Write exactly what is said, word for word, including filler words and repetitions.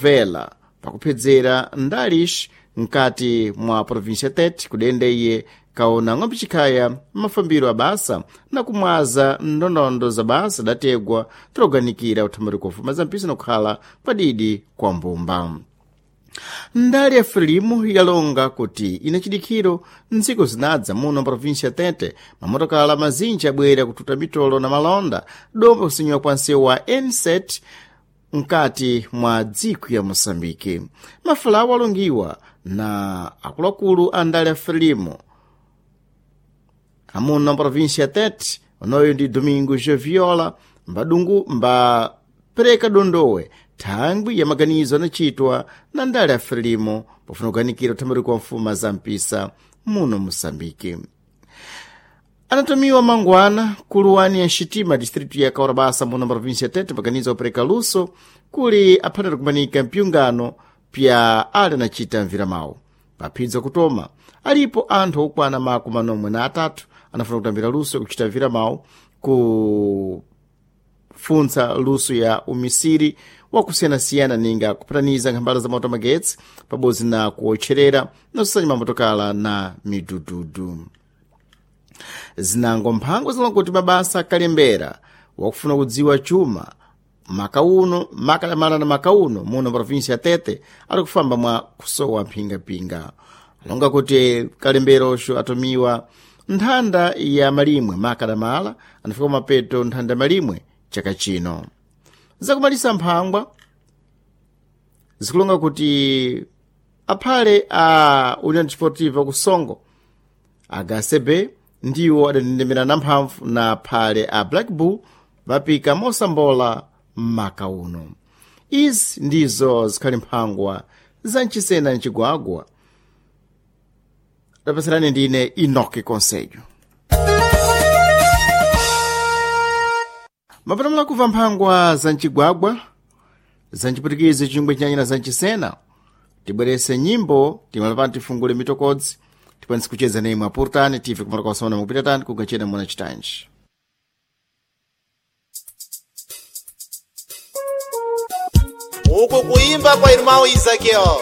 Vela pakuphedzera ndalish mkati mwa província Tete kudende iye kaona ng'ombe chikhaya mafambiro a basa na kumwaza ndondondo za basa dategwa tiloganikira uthamari kwa zampisa na kukhala kwadidi kwa mbumba. Ndali ya Frelimo yalonga kuti ina chidikhiro ntsiku zinadza muno província Tete mamotokala mazinji abwera kututa mitolo na malonda domba kusinyiwa kwa nsewu wa N sete mkati mwa dziko ya Moçambique. Mafulawo alongiwa na akuluakulu a ndali ya Frelimo amuno província Tete onoyo ndi Domingo Joviola mbadungu mbapereka dondowe thangwi ya maganizo anachitwa na ndale ya Frelimo pofuna kuganikira uthamiri kwa mfuma za mpisa muno Moçambique. Anatumiwa mangwana kuluwani ya xitima distritu ya Kaurabasa muno província Tete maganizo opereka luso kuli aphanira kumanika mpyungano pya ali anachita mviramawu paphidzo kutoma alipo anthu okwana makumi manomwe na atatu anafuna kutambira luso kuchita mviramawu kufuntsa luso ya umisiri wakusiyanasiyana ninga kupataniza nkhambala za moto magetsi pabodzi na kuwotcherera na kusanya mamotokala na midududu. Zinango mphango zilonga kuti mabasa akalembera wakufuna kudziwa chuma makauno makalamala na makauno muno província ya Tete ali kufamba mwa kusowa mphingapinga. Alonga kuti kalemberoxo atumiwa nthanda ya malimwe makalamala anafika mapeto nthanda malimwe chaka chino. Zakumalisa mphangwa zikulonga kuti aphale a União Desportiva ku Songo H C B ndiwo adandendemera na mphamvu na phale a Black Bull vapika mosambola maka uno. Izi ndizo zikhali mphangwa za mchisena mcigwagwa. Lapatsirani ndine Enoque Conselho. Mapatamula kubva mphangwa za mcigwagwa za mcipwitikizi chingwe chinyanyira za mchisena tibwerese nyimbo timalapano tifungule mitokodzi tikwanise kucheza nemwe apurtani tive kumala kwasona mukupita tani kugachena muna chitanji. Uku kuimba kwa irmão Isaqueu.